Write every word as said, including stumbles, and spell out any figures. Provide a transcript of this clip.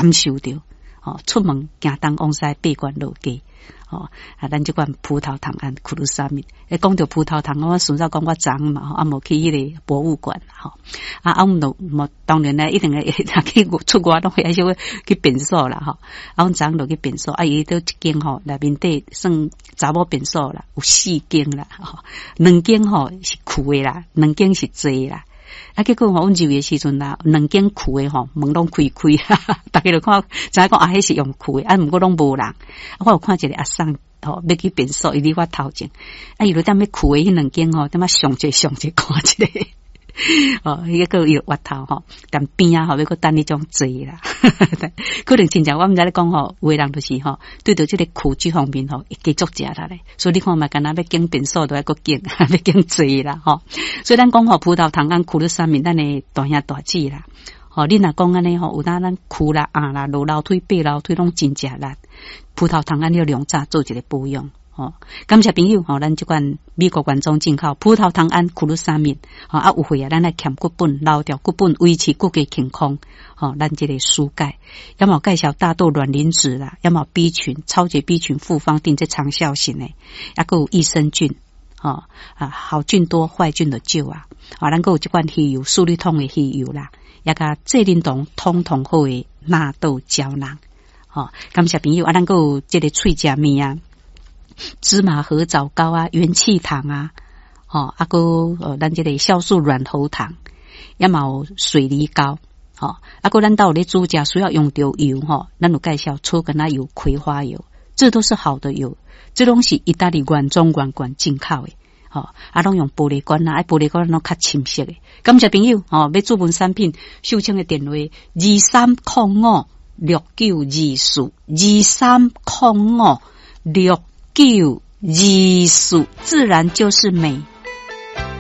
感受著，吼，出門行東往西八關落街。吼，啊，咱這款葡萄糖胺苦魯沙米，欸，講著葡萄糖，我順便講我昨昏嘛，吼，啊，無去彼个博物館，吼，啊，啊，阮就無當然咧，一定會去出外攏會愛小可去便所啦，吼，啊，阮昨昏就去便所，啊，伊佗一間吼，內面底算查某便所啦，有四間啦，吼，兩間吼是空的啦，兩間是坐啦。啊，結果吼，阮入去的時陣啦，兩間空的吼，門攏開開，逐家就看，知影講啊，彼是用空的，啊，毋過攏無人。啊，我有看一个阿桑吼，欲去便所，伊佇我頭前，啊，伊就踮咧空的彼兩間吼，踮仔上一上一看一下，哦，彼個伊就越頭吼，踮邊仔吼，欲閣等彼種坐啦。可能親像我毋知咧講吼，有的人就是吼，對著這个空這方面吼，會加足食力咧。所以你看嘛，敢若欲揀便所都愛閣揀，欲揀坐啦吼。所以咱講吼，葡萄糖胺苦魯沙米，咱的大兄大姊啦。吼，你若講按呢吼，有當咱跍啦、按啦、落樓梯、爬樓梯攏真食力。葡萄糖胺要量早做一个保養。吼，感謝朋友吼，咱這款美國原裝進口葡萄糖胺苦魯沙米，吼啊有會啊，咱來強骨本、撈掉骨本，維持骨骼健康。吼，咱這个疏解，也嘛有介紹大豆卵磷脂啦，也嘛有 B 群、超級 B 群複方錠這長效型的，抑閣有益生菌，吼啊好菌多壞菌就少啊。啊，咱閣有這款魚油，舒利通的魚油啦，也佮濟啉酮通通好的納豆膠囊。吼，感謝朋友啊，咱閣有這个喙食物啊。芝麻褐藻膏啊，元氣糖啊，吼，啊閣呃，咱這个酵素軟喉糖，也嘛有水梨膏，吼，啊閣咱兜有咧煮食需要用著油吼，咱有介紹草根仔油、葵花油，這都是好的油，這攏是意大利原裝原罐進口的，吼，啊攏用玻璃罐啊，啊玻璃罐攏較深色的。感謝朋友，吼，欲注文產品，秀清的電話二三空五六九二四，二三空五六九二四，自然就是美。